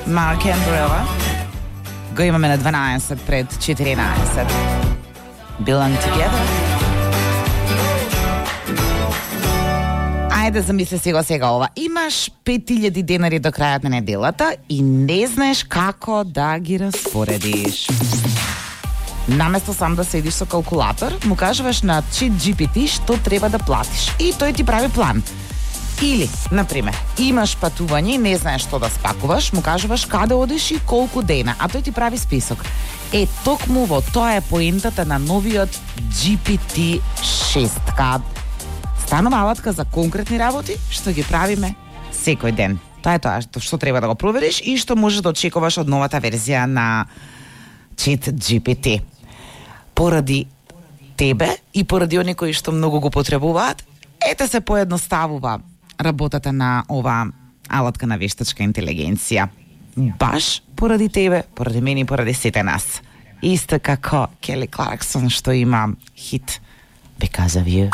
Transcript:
Mark Umbrella. Го имаме на 12 пред 14. Belong Together. Ајде, замисли сега ова. Имаш 5000 денари до крајот на неделата и не знаеш како да ги распоредиш. Наместо сам да седиш со калкулатор, му кажуваш на ChatGPT што треба да платиш и тој ти прави план. Или, например, имаш патување и не знаеш што да спакуваш, му кажуваш каде одиш и колку дена, а тој ти прави список. Токму во тоа е поентата на новиот GPT-6. Станува алатка за конкретни работи што ги правиме секој ден. Тоа е тоа што треба да го провериш и што можеш да очекуваш од новата верзија на ChatGPT. Поради тебе и поради оние кои што многу го потребуваат, се поедноставува работата на ова алатка на вештачка интелигенција. Баш поради тебе, поради мене и поради сите нас. Исто како Келли Кларксон што има хит Because of You.